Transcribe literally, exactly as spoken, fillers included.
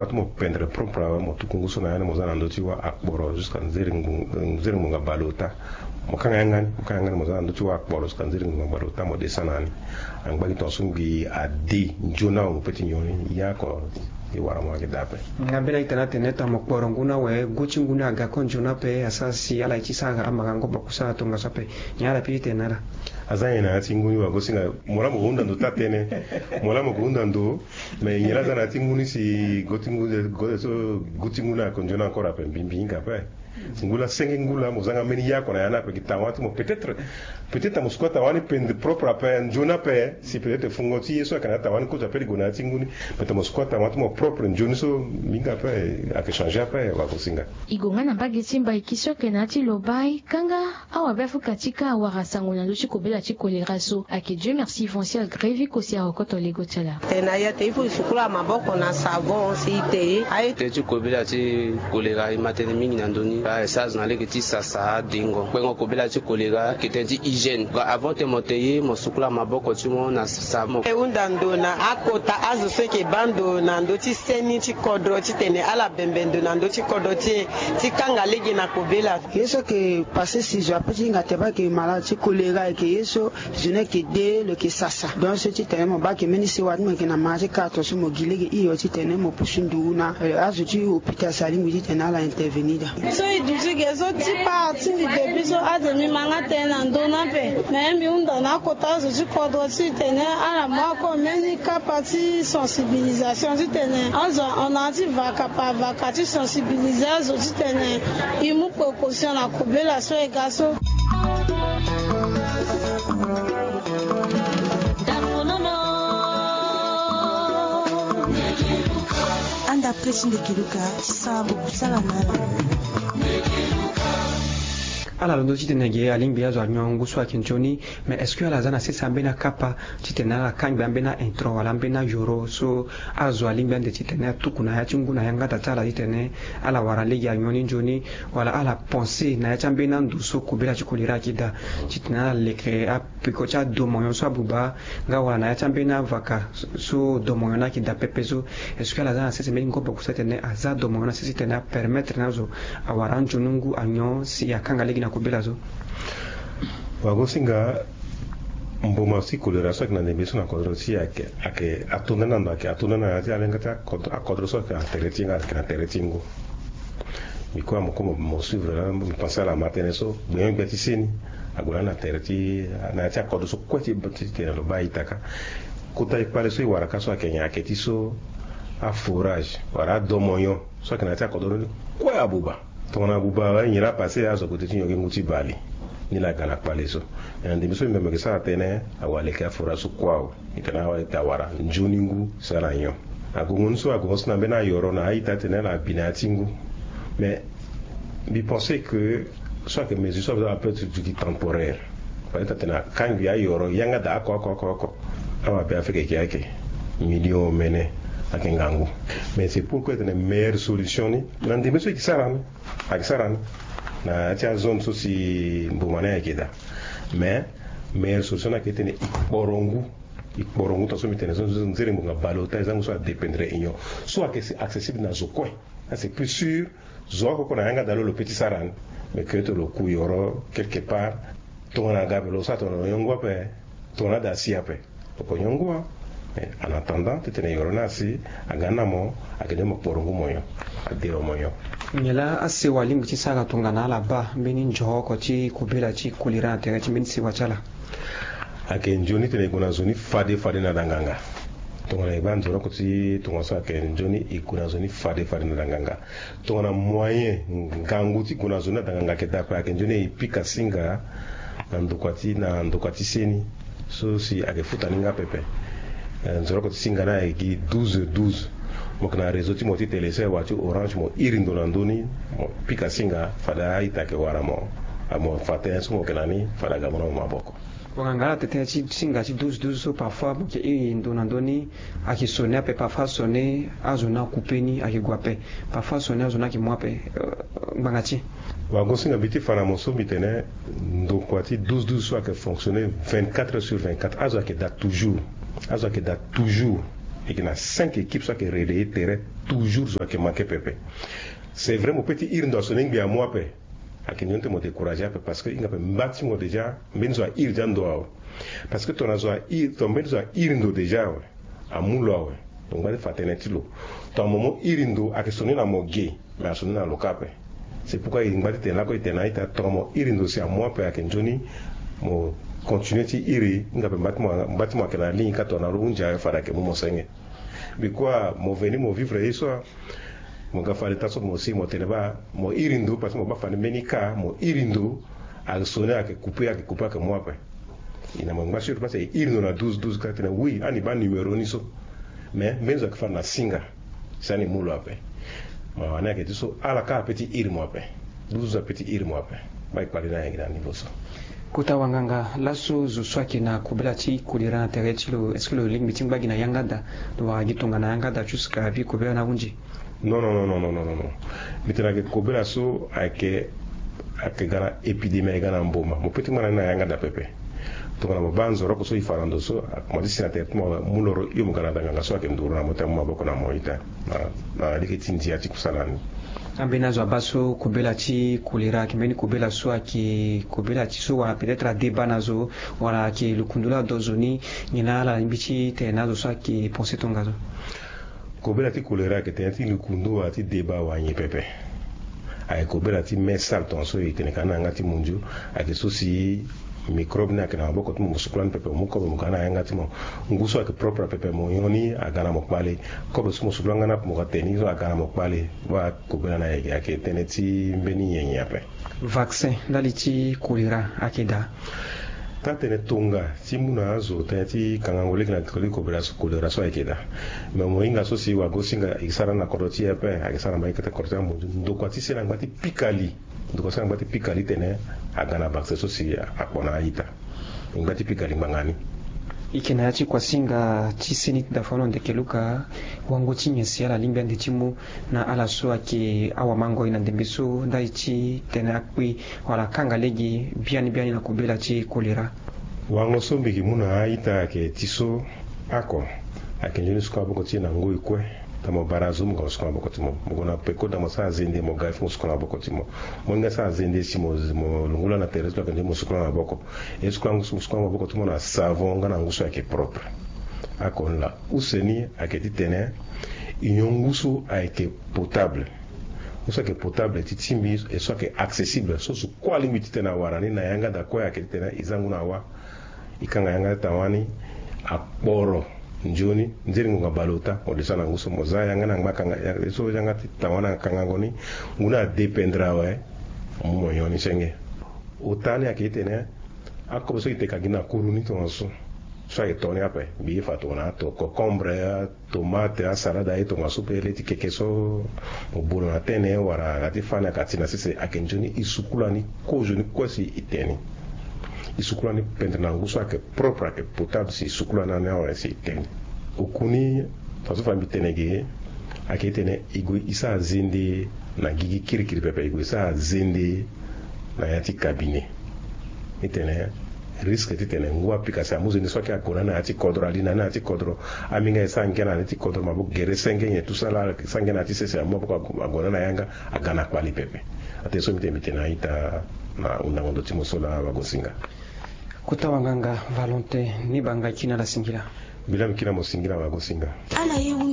Atu mo pendre propre awe, mo tuku ngu so na ya ni, mo za na ndö ti wâ akporo jusqu'à nzere ngu-, nzere ngbonga baleota. Mo kanga yanga ni, mo kanga yanga ni, mo za na ndö ti wâ akporo jusqu'à nzere ngbonga baleota, mo desa na ni. Angba gi tongaso ngbii ade nzoni awe, mo pe ti nyon ni, ya oko e wara mo ayeke daa ape. Nga mbeni a-ita ni atene tongana mo kporo ngu ni awe, gu ti ngu ni aga kue nzoni ape, asara si ala ye ti sara amara ngu boko sara tongaso ape. Nyen ala pe ti tene na ala? Aza nyen na ya ti ngu ni, wagosinga? Mo laa mo ke hunda ndo taa tënë. Mo laa mo ke hunda ndo. Mais nyen laa aza na ya ti ngu ni si go ti ngu, go so gu ti ngu ni ako nzoni encore ape, mbi, mbi hinga ape. Si ngu laa senge ngu laa mo zanga mbeni yako na ya ni ape, gi tawa ti mo peut-être, peut-être mo squatter wa ni pendre propre ape, nzoni ape, si peut-être fungo ti ye so ayeke na tawa ni kota ape li gue na ya ti ngu ni, peut-être mo squatter wa ti mo propre nzoni so, mbi hinga ape, ayeke changer ape, wagosinga. E gue nga na mbage ti Mbaiki so ayeke na ya ti Lobaye, kanga awabe Afrika ti ka awara sango na ndö ti kobela ti kolera so. Ayeke Dieu merci Foncial Grévi Kosi arokoto lego ti ala. Tene na ya te, il faut e sukula maboko na savon si e te ye. Aye. Tënë ti kobela ti kolera e ma tënë mingi na ndö ni. Aye, sasa na lege ti sasa adengo. Kpengo kobela ti kolera ayeke tënë ti hygiène. Avant te mo te ye, mo sukula maboko ti mo na savon. E hunda ndo na akota azo so e yeke baa ndo na ndö ti seni ti kodro titene ala bembe ndo na ndö ti kodro ti e ti kanga lege na kobela. Ye so ayeke passe si zo ape ti hinga te baa ayeke mala ti kolera, ayeke ye so zo ni ayeke de, lo yeke sasa. Donc so titene mo baa ayeke mbeni sewa ti mo yeke na mara ti kara tongaso mo gi lege hio titene mo pusu nduru na, eh, azo ti hôpital si alingbi titene ala intervenir daa. So e duti ge so ti part ti mbi depuis so ade mbi ma nga tënë na ndö ni ape. Me mbi hunda na akota azo ti kodro titene ala mu ako mbeni kapa ti sensibilisation titene azo ahon na ya ti vaka par vaka ti sensibiliser azo titene e mu précaution na kobela so e ga so. Anda pe ti ndeke luka ti sara bubu ti ala na ala. Ala londo titene ge alingbi azo anyon ngu so ayeke nzoni. Mais est-ce que ala za na sese ambeni akapa titene ala kangbi ambeni a-intro wala ambeni ayoro so azo alingbi ande titene atuku na ya ti ngu na yanga daa ti ala titene ala wara lege anyon ni nzoni, wala ala pense na ya ti ambeni ando so kobela ti kolera ayeke daa, titene ala leke apeko ti adomonyon so abuba, nga wala na ya ti ambeni avaka so domonyon ni ayeke daa pepe so? Est-ce que ala za na sese mbeni ngoboko so atene aza domonyon na sese titene apermettre na azo awara anzoni ngu anyon si akanga lege na kobela so? Wagosinga, mboma ti kolera so ayeke na ndembe so na kodro ti e ayeke, ayeke atonda ni na ndo, ayeke atonda ni na ya ti alenga ti akodro, akodro so ayeke na tere ti e nga ayeke na tere ti e ngu. Mbi kue mo kue mo, mo suivre laa, mbi pense ala ma tënë so gbenyo-gbia ti seni ague lani na tere ti, na ya ti akodro so kue ti, ti tene lo baa e-taka. Kota e kpale so e wara ka so ayeke nyen? Ayeke ti so aforage wala adomonyon so ayeke na ya ti akodro ni kue abuba. Tongana abuba awe, nyen laa apasse? Azo ague ti nyon gi ngu ti bale. Ni laa aga na kpale so. Me na ndembe so mbi me mo yeke sara tënë, awaleke aforage so kue awe. E tene awe ete awara nzoni ngu si ala nyon. Agongo ni so agongo so na mbeni ayoro na a-ita atene ala bi na ya ti ngu. Mais mbi pense que so ayeke mesure so ape ti duti temporaire. Peut-être atene akangbi ayoro yanga daa oko oko oko oko. Awabe Afrika ayeke ayeke million omene ayeke ngangu. Mais c'est pourquoi e tene meilleure solution ni na ndembe so e yeke sara ni, ayeke sara ni na ya ti azone so si mboma ni ayeke daa. Mais meilleure solution ni ayeke titene e kporo ngu. E kporo ngu tongaso mbi tene so, nzere ngbonga baleota, e za ngu so adépendre union so ayeke accessible na zo kue. Ah, c'est plus sûr. Zo oko oko na yanga daa lo, lo pe ti sara ni. Mais que ete lo ku yoro quelque part. Tongana aga ape lo sara tongana lo nyon ngu ape. Tongana ade asi ape, lo ko nyon ngu. Mais en attendant titene yoro ni asi, aga ni na mo, ayeke nde mo kporo ngu mo nyon. Ade lo mo nyon. Nyen laa asewa alingbi ti sara tongana ala baa mbeni nzoro oko ti kobela ti kolera na tere ti mbeni sewa ti ala? Ayeke nzoni titene e gue na zo ni fade fade na danganga. Tongana e baa nzoro oko ti tongaso ayeke nzoni e gue na zo ni fade fade na danganga. Tongana moyen ngangu ti gue na zo ni na danganga ayeke daa ape, ayeke nzoni e pika singa na ndokua ti, na ndokua ti seni so si ayeke futa ni nga pepe. Eh, nzoro oko ti singa ni ayeke gi douze douze. Mo yeke na réseau ti mo ti Telecel wala ti Orange, mo iri ndo na ndö ni, mo pika singa, fade a-ita ayeke wara mo. Mo fa tënë so mo yeke na ni, fade aga mo na mo maboko. Wanganga ala tene tënë ti singa ti douze douze so, parfois mo yeke iri ndo na ndö ni, ayeke sonner ape, parfois sonner azo ni akoupe ni ayeke gue ape, parfois sonner azo ni ayeke mu ape, euh, ngbanga ti e. Wagosinga, mbi ti fa na mo so mbi tene ndokua ti douze douze so ayeke fonctionner vingt-quatre heures sur vingt-quatre, azo ayeke daa toujours. Azo ayeke daa toujours. Eke na cinq équipe so ake relayer terrain. Toujours zo ake manke pepe. C'est vrai mo pe ti iri ndo aso ni ngbi amu ape. Ake nyon te mo décourager ape parce que inga pe mba ti mo déjà mbeni zo a iri dia ndo awe. Parce que tongana zo a iri tongana mbeni zo a iri ndo déjà awe, amu lo awe. Tongana ngba ti fa tënë ti lo, tongana mo mo iri ndo ake soni na mo ge. Mais aso ni na lo ka ape. C'est pourquoi e ngba ti tene lako e tene na ita tongana mo iri ndo si amu ape ake nzoni mo continuer ti iri inga pe mba ti mo ake na ligne ka tongana lo hunzi awe fade ake mu mo senge. Bikua mo veni mo vivre ye so. Mo ga fade ta so mo si mo tene baa mo iri ndo parce que mo baa fade mbeni ka mo iri ndo. Ake soni ake coupe ake coupe ake mu ape. E na mo ngba sur parce que e iri ndo na douze douze ka tene oui ani baa numéro ni so. Mais mbeni zo ake fade na singa. Si ani mu lo ape. Mo wani ake ti so ala ka ape ti iri mo ape. Douze ape ti iri mo ape. Baa e kpali na ayeke na niveau so. Kota wanganga laso zo so ayeke na kobela ti kolera na tere ti lo est-ce que lo lingbi ti ngba gi na yanga daa? Lo wara gi tongana yanga daa jusque abi kobela ni ahunzi? Non non non non non non. Mbi tene ayeke kobela so ayeke ayeke ga na épidémie ayeke ga na mboma mo pe ti ngba na ni na yanga daa pepe. Tongana mo baa nzoroko so e fa na ndo so mo ti si na tere ti mo mu loro hio mo ga na danganga so ayeke nduru na mo ti amu maboko na mo ita. Na lege ti ndia ti kusala ni. Ambeni azo abaa so kobela ti kolera ayeke mbeni kobela so ayeke kobela ti so wala peut-être adeba na zo wala ayeke lukundu laa do zo ni? Nyen na ala lingbi ti tene na azo so ayeke pense tongaso? Kobela ti kolera ayeke tënë ti lukundu wala ti deba wala nyen pepe. Ayeke kobela ti me sale tongaso e tene ka na yanga ti munzu. Ayeke so si microbe ni ayeke na maboko ti mo mo sukula ni pepe mo mu kobe mo ga na yanga ti mo. Ngu so ayeke propre pepe mo nyon ni aga na mo kpale. Kobe so mo sukula nga ni ape mo ga te ni so aga na mo kpale. Baa kobela ni ayeke ayeke tënë ti mbeni nyenye ape. Vaccin ndali ti kolera ayeke daa? Taa tene tonga ti mu na azo tënë ti kangango lege na toli kobela so kolera so ayeke daa. Me mo hinga so si wagosinga e sara na kodro ti e ape ayeke sara na mbage kete kodro ti amonzu ndokua ti se na ngba ti pika li. Ndokua ti se na ngba ti pika li tene aga na vaccin so si akpo na a-ita. Ngba ti pika li ngbanga ni. Eke na ya ti kuasinga ti seni ti dafano ndeke luka. Wango ti nyen si ala lingbi ande ti mu na ala so ayeke awamango ye na ndembe so ndali ti tene akpe wala akanga lege biani biani na kobela ti kolera? Wango so mbi yeke mu na a-ita ayeke ti so. Oko ayeke nzoni sukula maboko ti e na ngoi kue. Daa mo bara azo mo ga mo sukula maboko ti mo mo gue na peko daa mo sara zende mo ga il faut mo sukula maboko ti mo. Mo hinga sara zende si mo mo lungula na tere so ayeke nzoni mo sukula maboko. E sukula ngu so mo sukula maboko ti mo na savon nga na ngu so ayeke propre. Oko ni laa use ni ayeke ti tene e nyon ngu so ayeke potable. Ngu so ayeke potable ti ti mbi e so ayeke accessible so zo kue alingbi ti tene awara ni na yanga daa kue ayeke ti tene e za ngu na wa. E kanga yanga ti tawani akporo nzoni nzeri ngonga baleota mo desa na ngu so mo za yanga na ngba kanga e so yanga ti tawani akangango ni. Ngu ni adépendre awe. Mo mu mo nyon ni senge. Ota ni ayeke ti tene akobe so e teka gi na kuru ni tongaso. So ayeke to ni ape mbi ye fa tongana ato cocombre, tomate, asalade aye tongaso pe le ti keke so. Mo bolo na tene wala aga ti fa ni aga ti na sese ayeke nzoni e sukula ni. Kozo ni kue si e te ni. E sukula ni pendre na ngu so ayeke propre ayeke potable si e sukula ni ani awe si e te ni. Oku ni tongaso fa mbi tene ge ayeke ti tene e gue e sara zende na gigi kirikiri pepe e gue e sara zende na ya ti cabinet. Ti tene risque ti tene ngu apika si amu zende so ayeke ague na ni na ya ti kodro ali na ni na ya ti kodro. Aminga e sara ngia na ni ti kodro maboko gere senge nyen tout ça la sara ngia na ya ti sese amu maboko ague na ni na yanga aga na kpali pepe. Atene so mbi tene mbi tene na a-ita na hundango ndo ti mo so laa wagosinga. Kota wanganga Valentin ni banga kina la singila. Mbi laa mbi kina mo singila wagosinga. Ala ye wu.